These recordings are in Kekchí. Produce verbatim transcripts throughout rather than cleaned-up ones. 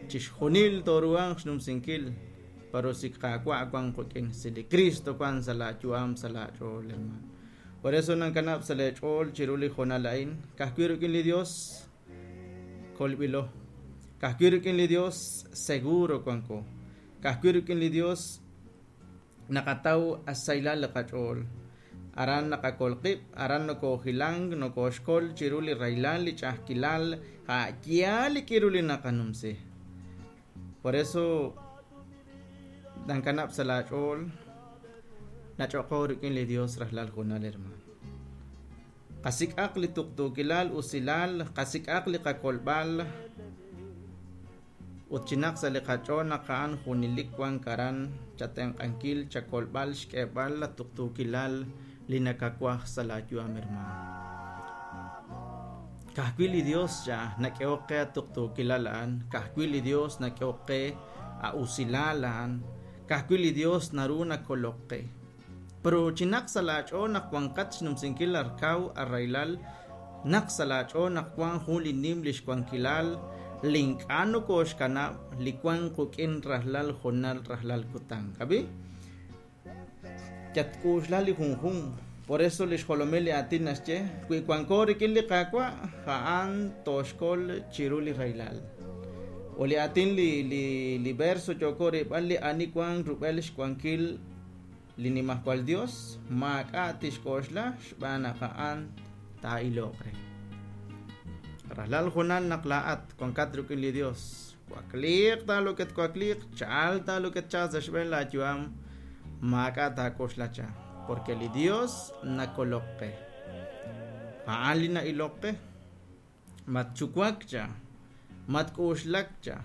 Chixjunil toruhanq xnumsinkil pero si Qaawa' wan qik'in, si li Cristo wan sa' laayu'am sa' laach'ool, hermano. Por eso nankanab' sa' leech'ool chiru li hoonal a'in, ka'ajwi' rik'in li Dios kolb'ilo, ka'ajwi' rik'in li Dios seguro wanko, ka'ajwi' rik'in li Dios naqataw asaylal li qach'ool. Aran naqakol qib', aran nokoojilank, nokooxkol chiru li raylal, li ch'a'ajkilal, a'yaal li k'iru li naqanumsi. Por eso nankanab' sa' laach'ool nach'oqo rik'in li Dios rajlal junal, hermano. Qasik'aq li tuqtuukilal usilal, qasik'aq li qakolb'al ut chinaq sa' li qach'ool naq a'an junelik wan aran chatenq'ankil, chakolb'al, xk'eeb'al la tuqtuukilal li nakawaj sa' laayu'am, hermano. Ka'ajwi' li Dios cha nak'ehok qe atuqtuukilal a'an, ka'ajwi' li Dios nak'ehok qe a usilal a'an, ka'ajwi' li Dios naru nakolok qe. Pero chinaq sa' laach'ool naq wanqat xnumsinkil arkaw arraylal, naq sa' laach'ool naq wan jun li nim li xwankilal, li ink'a' nokooxkanab', li wan quk'in rajlal jonal rajlal kutan. Ab'i? Yatk'uxla li junjun. Por eso li xjolomil li aatin naxye, wi wanko rik'in li Qaawa', a'an tooxkol chiru li raylal. O li aatin li li li verso yooko rib'al li ani wan rub'el xwankil li nimajwal Dios, maak'a' tixk'oxla xb'aan naq a'an taa'iloq re. Rajlal junal naq laa'at wankat rik'in li Dios, wakliiq taaloket wakliiq, chal taaloket chal sa' xb'een laayu'am, maak'a' taak'oxla cha, porque li Dios nakolok qe. A'an li na'ilok qe, matchuwak cha, matk'uxlak cha,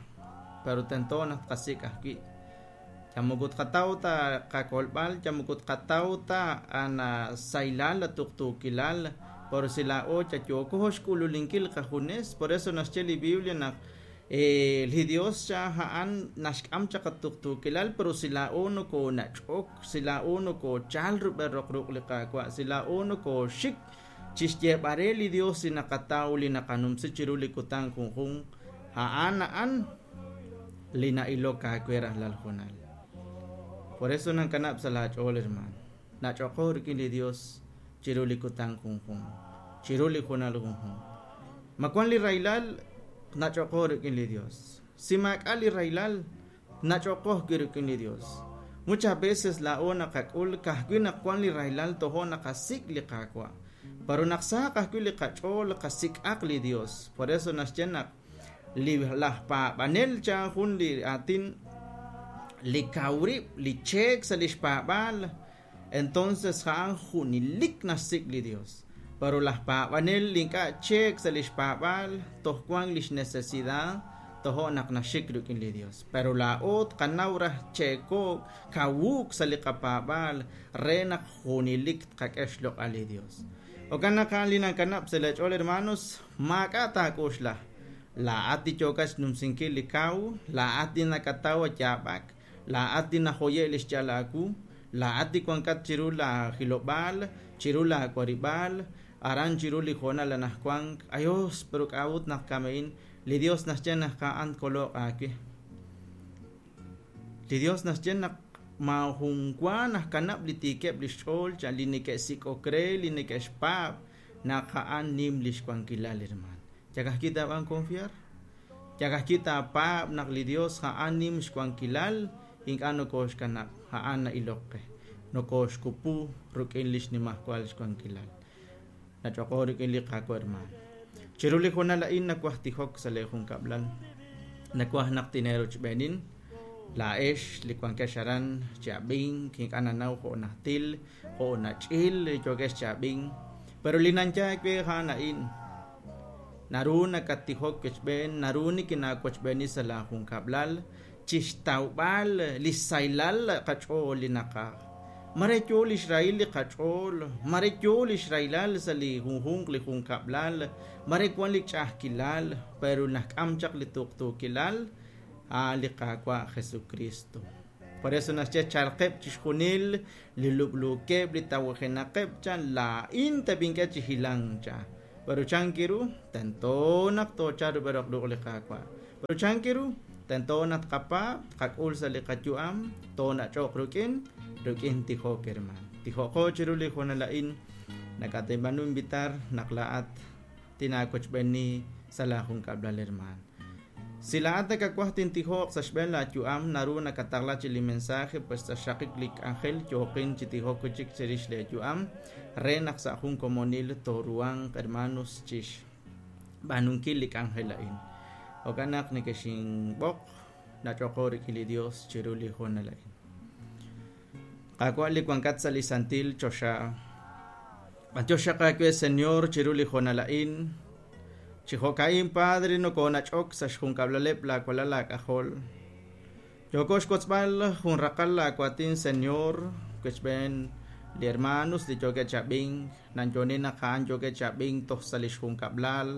pero tento naq tqasik' ajwi'. Yamukut qataw ta qakolb'al, yamukut qataw ta ana saylal la tuqtuukilal, por si laa'o chayooko xk'ululinkil qajunes. Por eso naxye li Biblia naq eh, li Dios cha a'an naxk'am chaq atuqtuukilal, pero si laa'o nokoonach'ok, si laa'o nokoochal rub'el roq ruq' li Qaawa', si laa'o nokooxik chixyeeb'are li Dios li naqataw li naqanumsi chiru li kutan junjun, a'an a'an li na'ilok aawe rajlal junal. Por eso nankanab' sa' laach'ool, hermano. Nach'oqo rik'in li Dios chiru li kutan junjun, chiru li junal junjun. Ma wan li raylal, nach'oqo rik'in li Dios. Si maak'a' li raylal, nach'oqo ajwi' rik'in li Dios. Muchas veces laa'o naqak'ul ka'ajwi' naq wan li raylal tojo naqasik' li Qaawa'. Pero naq saq ajwi' li qach'ool qasik'aq li Dios. Por eso naxye naq li laj paab'anel cha jun li aatin li kawrib', li cheek sa' li xpaab'al, entonces a'an junelik naxsik' li Dios. Pero laj paab'anel li ink'a' cheek sa' li xpaab'al, toj wan lix necesidad, tojo naq naxik rik'in li Dios. Pero laa'o tqanaw raj cheeko kawuuk sa' li qapaab'al re naq junelik tqak'e xloq'al li Dios. Jo'kan naq a'an li nankanab' sa' leech'ool, hermanos, maak'a' taak'oxla. Laa'at li yookat xnumsinkil li kaw, laa'at li nakataw yaab'ak, laa'at li najoye' li xyal aawu, laa'at li wankat chiru la jilob'aal, chiru la warib'aal, aran chiru li hoonal anajwank. Ayos, pero k'a'ut naq kame'in, li Dios naxye naq a'an koloq aawe. Li Dios naxye naq maajun wa najkanab' li tiikeb' li xch'ool, cha li neke'sik'ok re, li neke'xpaab', naq a'an nim li xwankilal, hermano. Yakajki taab'an confiar, yakajki taapaab' naq li Dios a'an nim xwankilal, ink'a' nokooxkanab', a'an na'ilok qe, nokooxkupu rik'in li xnimajwal xwankilal. Nach'oqo rik'in li Qaawa', hermano. Chiru li hoonal a'in nawaj tijok sa' lee junkab'lal, nawaj naq tineerochb'eenin, laa'ex li wankex aran chi ab'ink, ink'a' nanaw jo' najtil, jo' nach'il yookex chi ab'ink, pero li nanyaak we a'an a'in. Naru nakatijok kechb'een, naru nikinaawochb'eeni sa' la junkab'lal, chixtawb'al li saylal qach'ool li naqaj. Mare yo li xrahil li qach'ool, mare yo li xraylal sa' li junjunq li junkab'lal, mare wan li ch'a'ajkilal, pero najk'am chaq li tuqtuukilal, a'an li Qaawa' Jesucristo. Por eso naxye chalqeb' chixjunil li lub'luukeb', li tawajenaqeb' cha, laa'in teb'ink'e chi hilank cha. Pero chankiru, tento naq toochal rub'el roq ruq' li Qaawa'. Pero chankiru, Tento naq tqapaab', tqak'ul sa' li qayu'am, toonach'oq rik'in, rik'in tijok, hermano. Tijoqo chiru li hoonal a'in, nakatinb'aanu invitar naq laa'at tinaawochb'eeni sa' laajunkab'lal, hermano. Si laa'at nakawaj tintijoq sa' xb'een laayu'am, naru nakataqla chi li mensaje, pues sa' xraqik li k'anjel yooqin chi tijok chik chirix leeyu'am, re naq sa' jun komonil tooruhanq, hermanos, chixb'aanunkil li k'anjel a'in. Jo'kan naq nekexinb'oq nach'oqo rik'in li Dios chiru li hoonal a'in. Qaawa' li wankat sa' li santil choxa. B'antiox xaq aawe, Señor, chiru li hoonal a'in. Chi jo'ka'in, Padre, nokoonach'ok sa' xjunkab'laleb' laawalal laak'ajol. Yooko xkotzb'al jun raqal laawatin, Señor, wechb'een li hermanos li yookeb' chab'ink, nanyoni naq a'an yookeb' chab'ink toj sa' li xjunkab'lal.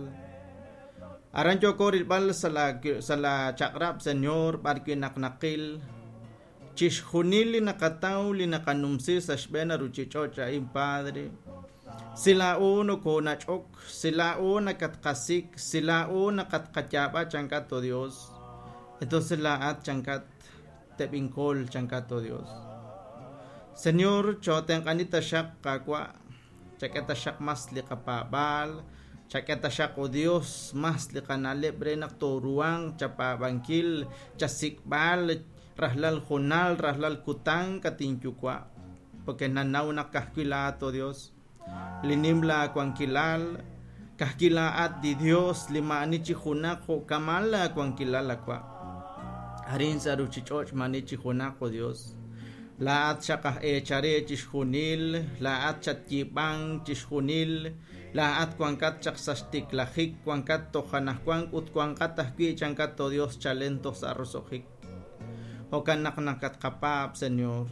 Aran yooko rilb'al sa' la sa' la chaq'rab', Señor, b'ar wi' naq naqil chixjunil li naqataw li naqanumsi sa' xb'een ruchich'och' a'in, Padre. Si laa'o nokoonach'ok, si laa'o nakatqasik, si laa'o naqatqayaab'a chankat, oh Dios. Entonces laa'at chankat teb'inkol chankat, oh Dios. Señor, chootenq'ani taxaq qaawa', chak'e taxaq mas li qapaab'aal, chak'e taxaq, oh Dios, mas li qana'leb' re naq tooruhanq chapaab'ankil, chasik'b'al rajlal junal, rajlal kutan katinyuwa'. Porque nanaw naq kajwi' laa'at, oh Dios. Li nim laawankilal, kajwi' laa'at li Dios, li ma'ani chi junaq jo'kamal laawankilal awa'. Arin sa' ruchich'och' ma'ani chi junaq, oh Dios. Laa'at xaq aj eechare chixjunil, laa'at chatyiib'ank chixjunil, laa'at wankat chaq sa' xtiklajik, wankat toj anajwank ut wankat ajwi' chankat, oh Dios, chalen toj sa' roso'jik. Jo'kan naq nakatqapaab', Señor.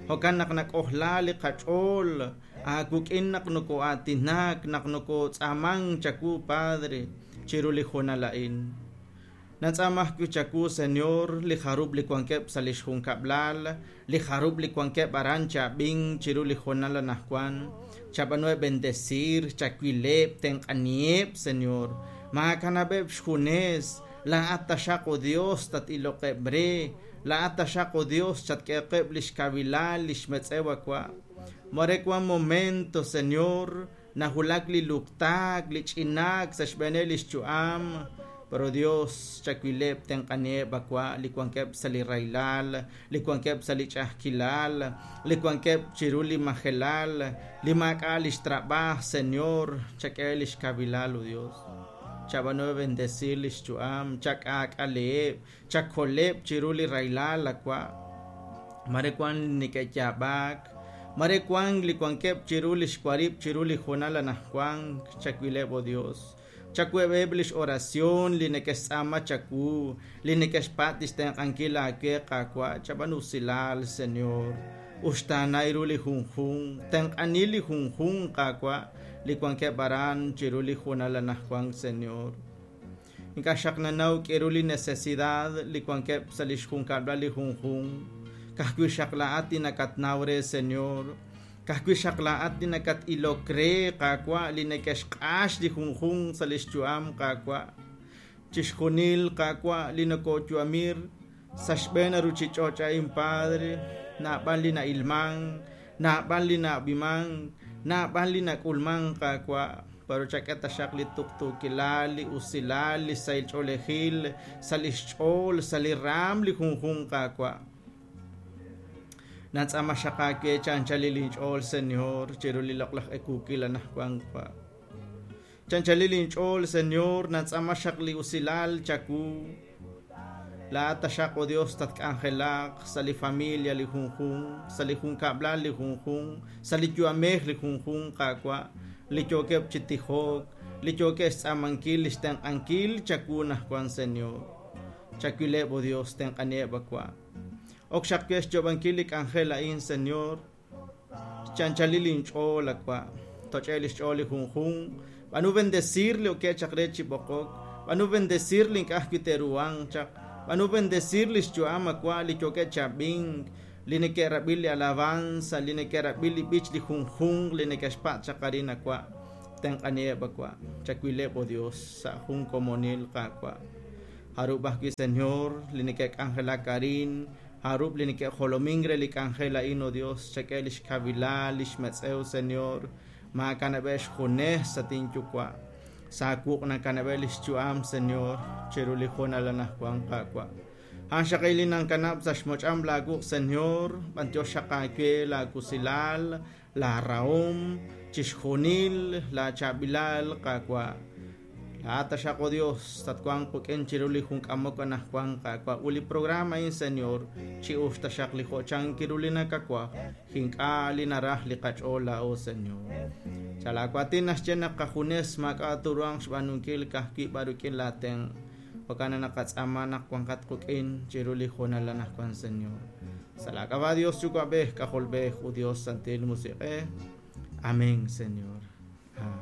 Jo'kan naq nak'ojla li qach'ool, aawuk'in naq noko'aatinak, naq nokotz'aamank chawu, Padre, chiru li hoonal a'in. Natz'aam ajwi' chawu, Señor, li jarub' li wankeb' sa' li xjunkab'lal, li jarub' li wankeb' aran chab'ink chiru li hoonal anajwan. Chab'anuheb' bendecir, chawileb', tenq'aniheb', Señor. Maakanab'eb' xjunes, laa'at taxaq, oh Dios, tatiloqeb' re, laa'at taxaq, oh Dios, chatk'eqeb' li xkawilal, li xmetz'ew awa'. Mare wan momento, Señor, nahulak li luktaak, li ch'inaak sa' xb'eeneb' li xyu'am. Pero Dios, chawileb' tenq'aniheb' awa' li wankeb' sa' li raylal, li wankeb' sa' li ch'a'ajkilal, li wankeb' chiru li majelal, li maak'a' li xtrab'aj, Señor, chak'e li xkawilal, oh Dios. Chab'anuheb' bendecir li xyu'am, chak'aak'aleheb', chakoleb' chiru li raylal awa'. Mare wan neke'yaab'ak, mare wan li wankeb' chiru li xwarib' chiru li hoonal anajwank, chawileb', oh Dios. Chakueb'eb' lix oración, li neke'xtz'aama chawu, li neke'xpat' lix tenq'ankil aawe qaawa', chab'anu usilal, Señor. Uxtaanay ru li junjunq, tenq'ani li junjunq qaawa', li wankeb' aran chiru li hoonal anajwank, Señor. Ink'a' xaq nanaw k'e ru li necesidad li wankeb' sa' lix junkab'lal li junjunq. Kajwi' xaq laa'at li nakatnaw re, Señor. Kajwi' xaq laa'at li nakat-ilok re, qaawa', li neke'xq'ax li junjunq sa' lix yu'am, qaawa'. Chixjunil, qaawa', li nokoyu'amir sa' xb'een ruchich'och' a'in, Padre, naab'al li na'ilman, naab'al li na'ab'iman, naab'al li nak'ulman, qaawa'. Pero chak'e taxaq li tuqtuukilal, li usilal, li sahil ch'oolejil, sa' lix ch'ool, sa' li raam li junjunq, qaawa'. Natz'aama xaq aawe chanchalil inch'ool, Señor, chiru li loq'laj ekuukil anajwank wa'. Chanchalil inch'ool, Señor, natz'aama xaq li usilal chawu. Laa'at taxaq, oh Dios, tatk'anjelaq sa' li familia li junjunq, sa' li junkab'lal li junjunq, sa' li yu'amej li junjunq, qaawa', li yookeb' chi tijok, li yookeb' xtz'aamankil, li xtenq'ankil chawu najwan, Señor. Chawileb', oh Dios, tenq'aniheb' awa'. Ok xaq we xyoob'ankil li k'anjel a'in, Señor. Chanchalil inch'ool awa'. Toch'e li xch'ool li junjunq. B'anu bendecir li okeb' chaq re chi b'oqok. B'anu bendecir li ink'a' ajwi' te'ruhanq chaq. B'anu bendecir li xyu'am awa' li yookeb' chab'ink, li neke'rab'i li alabanza, li neke'rab'i li b'ich li junjunq, li neke'xpa' chaq arin awa'. Tenq'aniheb' awa'. Chawileb', oh Dios, sa' jun komonil qaawa'. Jarub' ajwi', Señor, li neke'k'anjelak arin, jarub' li neke'jolomink re li k'anjel a'in, o Dios, chak'e lix kawilal, lix metz'ew, Señor, maakanab'eb' xjunes at inyuwa'. Sa' wuq' nakanab'eb' lix yu'am, Señor, chiru li hoonal anaqwan, Qaawa'. A'an xaqil li nankanab' sa' xmoch'am laawuq', Señor, b'antiox xaq aawe laawusilal, laarahom, chixjunil laachaab'ilal, Qaawa'. Laa'at taxaq, o Dios, tatwanq qik'in chiru li junk'amok anaqwan, Qaawa'. Ut li programa a'in, Señor, chi'ux taxaq li jo'chan kiru li nakawaj, ink'a' li naraj li qach'ool laa'o, Señor. Sa' laawaatin naxye naq qajunes maak'a' turuanq xb'aanunkil ka'ajwi' b'ar rik'in laatenq'. Jo'kan naqatz'aama naq wanqat qik'in chiru li hoonal anaqwan, Señor. Sa' laak'ab'a' Dios Yuwa'b'ej, K'ajolb'ej ut Dios Santil Musiq'ej. Amén, Señor. Amén.